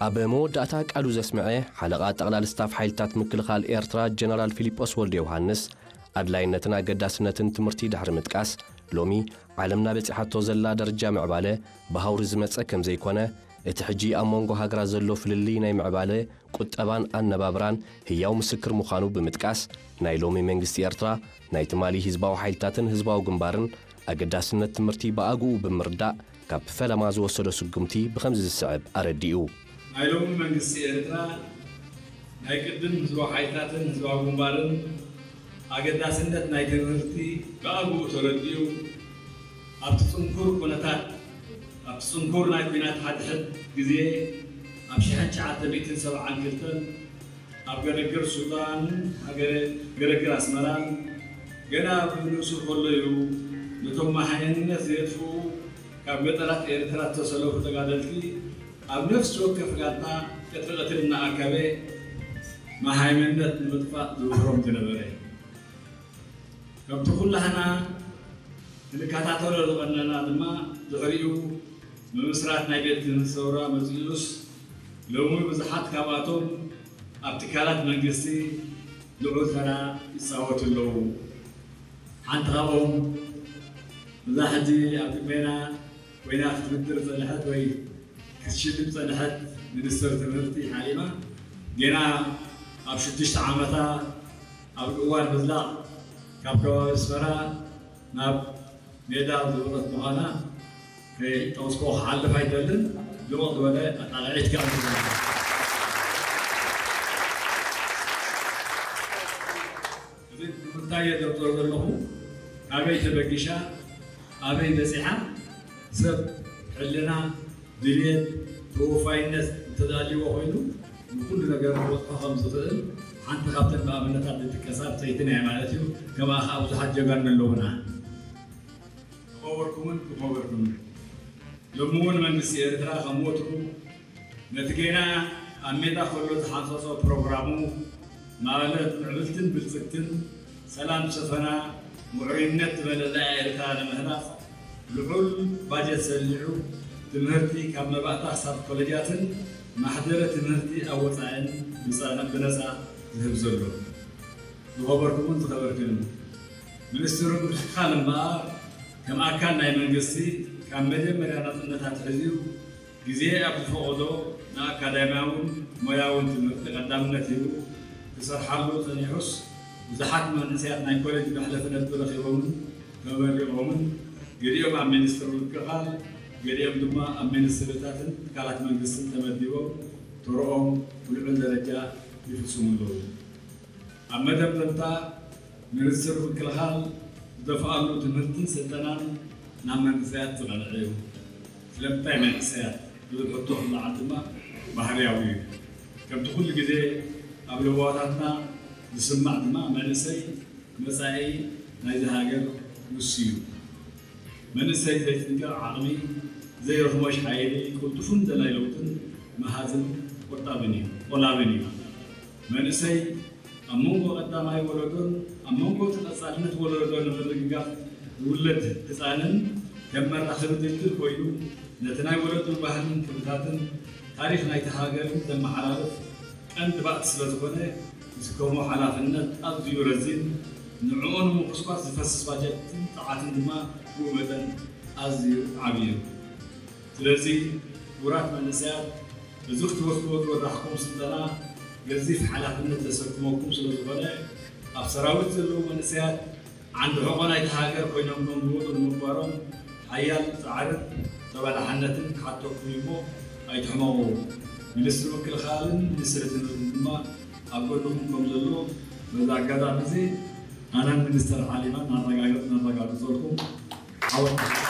ኣብ መወዳእታ ቃሉ ዘስምዐ ሓለቓ ጠቕላል ስታፍ ሓይልታት ምክልኻል ኤርትራ ጀነራል ፊሊጶስ ወልደ ዮሃንስ፣ ኣድላይነትን ኣገዳስነትን ትምህርቲ ድሕሪ ምጥቃስ፣ ሎሚ ዓለምና በጺሓቶ ዘላ ደረጃ ምዕባለ ብሃውሪ ዝመጸ ከም ዘይኮነ፣ እቲ ሕጂ ኣብ መንጎ ሃገራት ዘሎ ፍልልይ ናይ ምዕባለ ቁጠባን ኣነባብራን ህያው ምስክር ምዃኑ ብምጥቃስ፣ ናይ ሎሚ መንግስቲ ኤርትራ ናይ ትማሊ ህዝባዊ ሓይልታትን ህዝባዊ ግንባርን ኣገዳስነት ትምህርቲ ብኣግኡ ብምርዳእ፣ ካብ ፈለማ ዝወሰዶ ስጉምቲ ብኸምዚ ዝስዕብ ኣረዲኡ። ናይ ሎሚ መንግስቲ ኤርትራ ናይ ቅድም ህዝባዊ ሓይልታትን ህዝባዊ ግንባርን ኣገዳስነት ናይ ትምህርቲ ብኣግኡ ተረዲኡ፣ ኣብቲ ጽንኩር ኩነታት፣ ኣብቲ ጽንኩር ናይ ኲናት ሓድሕድ ግዜ ኣብ ሽሕን ትሽዓተ ሚእትን ሰብዓን ክልተን ኣብ ገረግር ሱዳን ሃገረ ገረግር ኣስመራን ገና ብንእሱ ከሎ እዩ ነቶም መሃይምነት ዘየጥፍኡ ካብ ገጠራት ኤርትራ ዝተሰለፉ ተጋደልቲ ኣብ ነፍሲ ወከፍ ጋንታ ቀትሪ ቀትሪ እናኣከበ መሃይምነት ንምጥፋእ ዝውፍሮም ዝነበረ። ከምቲ ኩላህና ክንከታተሎ ዝቐነና ድማ ድሕሪኡ ምምስራት ናይ ቤት ትምህርቲ ሰውራ መጺኡስ ሎሚ ብዙሓት ካብኣቶም ኣብ ትካላት መንግስቲ ልዑል ተራ ይጻወቱ ኣለዉ። ሓንቲ ካብኦም እዛ ሕጂ ኣብ ቅድሜና ኮይና ክትምድር ዝጸንሐት ወይ ክትሽልም ዝጸንሐት ሚኒስትር ትምህርቲ ሓሊማ፣ ገና ኣብ ሽዱሽተ ዓመታ ኣብ እዋን ምዝላቕ ካብ ከባቢ ኣስመራ ናብ ሜዳ ዝወረደት ምዃና ከይጠቐስኩ ክሓልፍ ኣይደልን። ልቕቕ ዝበለ ኣጣቕዒት ከኣ እዚ ንምንታይ እየ ዘብጽሖ ዘለኹ? ካበይ ተበጊሻ? ኣበይ በጺሓ? ሰብ ሕልና፣ ድልየት፣ ተወፋይነት እንተዝሃልይዎ ኮይኑ ንኹሉ ነገር ክበጽሖ ከም ዝኽእል ሓንቲ ካብተን ብኣብነታት ዝጥቀሳ ብጸይትን እያ ማለት እዩ። ከማኣ ከኣ ብዙሓት ጀጋኑ ኣለዉና። ዝኸበርኩምን ዝኸበርኩምን፣ ሎሚ እውን መንግስቲ ኤርትራ ከም ወትሩ ነቲ ጌና ኣብ ሜዳ ከሎ ዝሓንጸጾ ፕሮግራሙ፣ ማለት ምዕብልትን ብልጽግትን ሰላም ዝሰፈና ምዕሩይነት ዝመለኣ ኤርትራ ንምህናጽ ልዑል ባጀት ሰሊዑ፣ ትምህርቲ ካብ መባእታ ክሳብ ኮለጃትን ማሕደረ ትምህርቲ ኣብ ወጻኢን ብጸ-፣ ብነጻ ዝህብ ዘሎ። ዝኸበርኩምን ዝኸበርክን፣ ሚኒስትሪ ምክልኻል እምበኣር ከም ኣካል ናይ መንግስቲ ካብ መጀመርያ ናጽነት ኣትሒዙ ግዜ ኣብ ዝፈቐዶ ንኣካዳሚያውን ሞያውን ትምህርቲ ቀዳምነት ሂቡ ክሰርሓሉ ጸኒሑስ፣ ብዙሓት መንእሰያት ናይ ኮሌጅ መሕለፊ ነጥቢ ረኺቦምን ተመሪቖምን፣ ገሊኦም ኣብ ሚኒስትሪ ምክልኻል፣ ገሊኦም ድማ ኣብ ሚኒስትሪታትን ትካላት መንግስትን ተመዲቦም ተርኦም ብልዑል ደረጃ ይፍጽሙ ኣለዉ። ኣብ መደምደምታ፣ ሚኒስትሪ ምክልኻል ዝደፍኣሉ ትምህርትን ስልጠናን ናብ መንእሰያት ዝቐንዐ እዩ። ስለምንታይ መንእሰያት ዝብል ሕቶ ክለዓል ድማ ባህርያዊ እዩ። ከምቲ ኩሉ ግዜ ኣብ ለበዋታትና ዝስማዕ ድማ መንእሰይ መጻኢ ናይዚ ሃገር ንሱ እዩ። መንእሰይ ዘይጥንቀቕ ዓቕሚ፣ ዘይርኽሞሽ ሓይሊ፣ ቅልጡፍን ደላይ ለውጥን መሃዝን ቆጣብን እዩ፣ ቆላብን እዩ። መንእሰይ ኣብ መንጎ ቀዳማይ ወለዶን ኣብ መንጎ እቲ ቀጻልነት ወለዶ ንምርግጋጽ ዝውለድ ህጻንን ከም መራኸቢ ድልድል ኮይኑ ነቲ ናይ ወለዶ ባህልን ክብርታትን ታሪኽ ናይቲ ሃገርን ዘመሓላልፍ ቀንዲ ባእቲ ስለ ዝኾነ ዝስከሞ ሓላፍነት ኣዝዩ ረዚን፣ ንዕኡ ንምኹስኳስ ዝፈስስ ባጀትን ጸዓትን ድማ ብኡ መጠን ኣዝዩ ዓብዪ እዩ። ስለዚ ክቡራት መንእሰያት፣ እዚ ክትወስድዎ ዝወዳሕኩም ስልጠና ገዚፍ ሓላፍነት ዘሰክመኩም ስለ ዝኾነ፣ ኣብ ሰራዊት ዘለዉ መንእሰያት ዓንዲ ሕቖ ናይቲ ሃገር ኮይኖም ከም ዝወጹ ንምግባሮም ሓያል ጻዕርን ተባላሕነትን ክሓተኩም እዩ እሞ ኣይትሕመቑ። ሚኒስትሪ ምክልኻልን ሚኒስትሪ ትምህርትን ድማ ኣብ ጎንኹም ከም ዘሎ በዚ ኣጋጣሚ እዚ ኣነን ሚኒስተር ሓሊማን እናረጋገጽ-፣ እናረጋግጸልኩም ዓወት